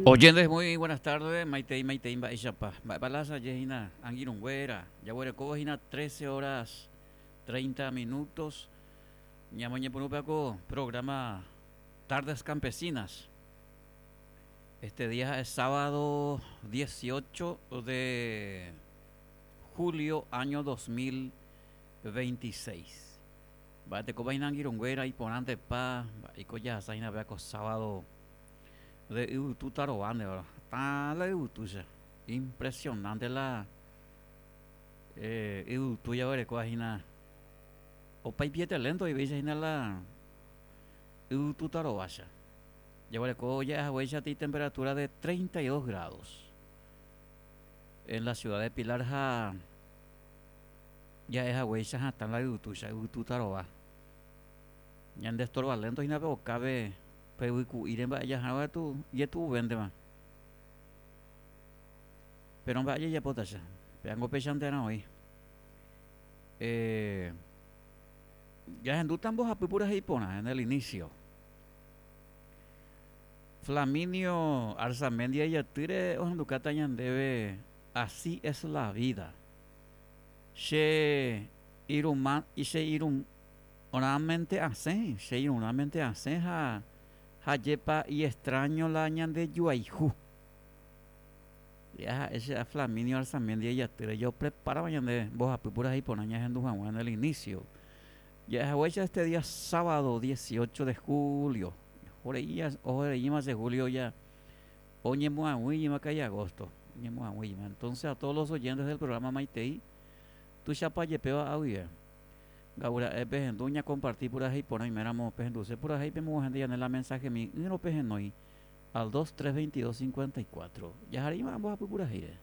Oyentes, muy buenas tardes. Maitei, maitei, mba'éichapa. Mba'épa la asaje hína angirũnguéra. Jaguerekóvo hína 13 horas 30 minutos. Ñamoñepyrũpe ko programa Tardes Campesinas. Este día es sábado 18 de julio año 2026. Mba'etekópa hína angirũnguéra iporãntepa mba'éiko jahasa hína péva ko sábado de yvytu tarova ndéva. Hatã la yvytúicha. Impresionante la yvytu jaguerekóva hína. Opa ipiete lento oivéicha hína la yvytu tarovácha. Jaguereko ja'e haguéicha ti temperatura de 32 grados en la ciudad de Pilar ha Ja'e haguéicha hatã la yvytúicha, yvytu tarova. Ñande estorba lento hína pe okápe pe yvyku'íre mba'e jahárõ katu ijetu'uvéntema. Péro mba'e jajapótacha, péango péichantearã oĩ. Eh, jahendúta mbohapy purahéi porã en el inicio. Flaminio Arzamendia ijatýre ohendukáta ñandéve Así es la vida. Che irũma, che irũrãmente asẽ, che irũrãmente asẽ ha hajépa iextraño la ñande juayhu. Ya ha'e che a Flaminio Arzamendia ijatýre jopreparáva ñande mbohapy purahéi porã ñahendu hag̃ua en el inicio. Ja'ehaguéicha este día sábado 18 de julio, ohoreíma che julio ya Oñemoag̃uíma ka'i agosto, oñemoag̃uíma. Entonces a todos los oyentes del programa Maitei, tuichapa jepéva aguive. Nga'ura'e pehendu ñakomparti purahéi porã oiméramo pehenduse purahéi pemoguahẽnte ñande la mensajemi ỹrõ pehenói al 2 3 22 54. Jahareíma mbohapy purahéire.